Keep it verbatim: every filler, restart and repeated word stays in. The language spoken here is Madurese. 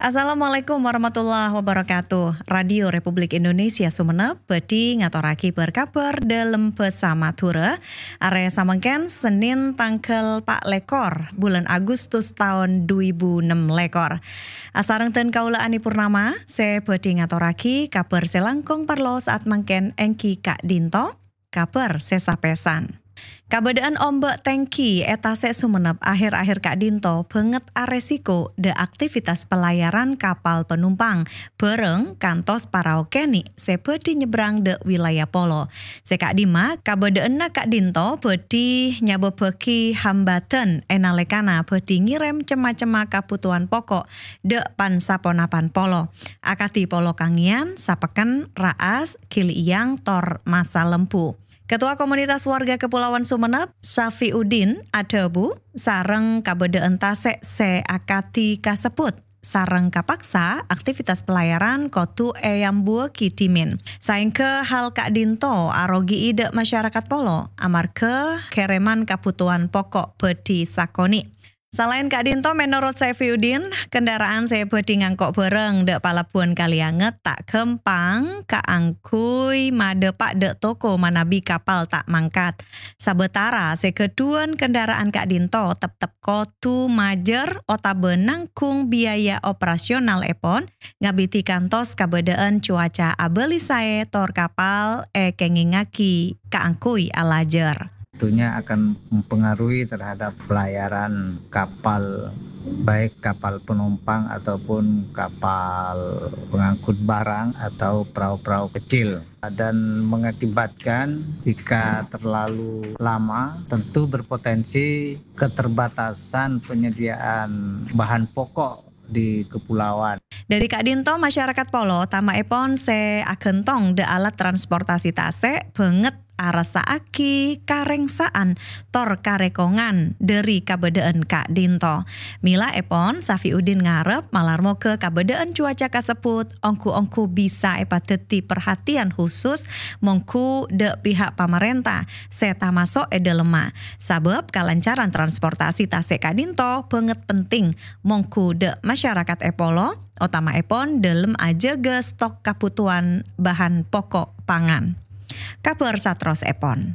Assalamualaikum warahmatullahi wabarakatuh. Radio Republik Indonesia Sumenep bhâdhi ngatorraghi bâr-kabhâr dâlem bhâsa Madhurâ. Arè samangkèn Sennèn tangghâl pa' lèkor bulân Agustus taon du èbu ennem lèkor. Asareng dân kaulâ Ani Purnama, sè bhâdhi ngatorraghi kabhâr sè langkong parlo sa'at mangkèn èngghi ka'dinto. Kabhâr sè sapèsan. Kabâdâ'ân ombâ' tèngghi è tasè' Sumenep akhèr-akhèr ka'dinto bângèt aresiko dâ' aktivitas pelayaran kapal penumpang, bhârâng kantos parao kènè' sè bhâdhi nyebrang dâ' wilayah polo. Sè ka'dimma, kabâdâ'ânna ka'dinto bhâdhi nyabâbbhâghi hambâdhân è nalèkana bhâdhi ngèrèm cem-macemma kabhutowan poko' dâ' pan-saponapan polo, akadhi polo kangèyan, sapèkken, ra'as, ghiliyang, tor masa lembu. Ketua Komunitas Warga Kepulauan Sumenep, Safiuddin, adhâbu, sareng kabâdâ'ân tasè' sè akadhi kasebbhut sareng kapaksa, aktivitas pelayaran kodhu èambuwâghi dhimèn. Saèngghâ hal ka'dinto arogi'i dâ' masyarakat polo, amarghâ kèrèman kabhutowan poko' bhâdhi sakonè'. Salaèn ka'dinto, menorot Safiuddin, kendaraan sè bhâdhi ngangko' bhârâng dâ' Palabuhan Kalianget ta' ghâmpang kaangghuy madhâpa' dâ' toko manabi kapal ta' mangkat. Sabâtara sè ghâdhuwân kendaraan ka'dinto teptep kodhu majâr otabâ nangghung biaya operasionalèpon, ngabidhi kantos kabâdâ'ân cuaca abâli saè tor kapal èkèngèngaghi kaangghuy alajâr. Tentunya akan mempengaruhi terhadap pelayaran kapal, baik kapal penumpang ataupun kapal pengangkut barang atau perahu-perahu kecil, dan mengakibatkan jika terlalu lama, tentu berpotensi keterbatasan penyediaan bahan pokok di kepulauan. Dâri ka'dinto, masyarakat polo, tamaèpon sè aghântong dâ' alat transportasi tasè', bângèt arassa'aghi karèngsa'an tor karèkongan dâri kabâdâ'ân ka'dinto. Milaèpon, Safiuddin ngarep malar moghâ kabâdâ'ân cuaca kasebbhut ongghu-ongghu bisa èpadhâddhi parhatèyan khusus mongghu dâ' pihak pamarènta sè tamaso' è dâlemma. Sabâb kalancaran transportasi tasè' ka'dinto bângèt penting mongghu dâ' masyarakat è polo, otamaèpon dâlem ajâgâ stok kabhutowan bahan poko' pangan. Kabhâr saterrossèpon.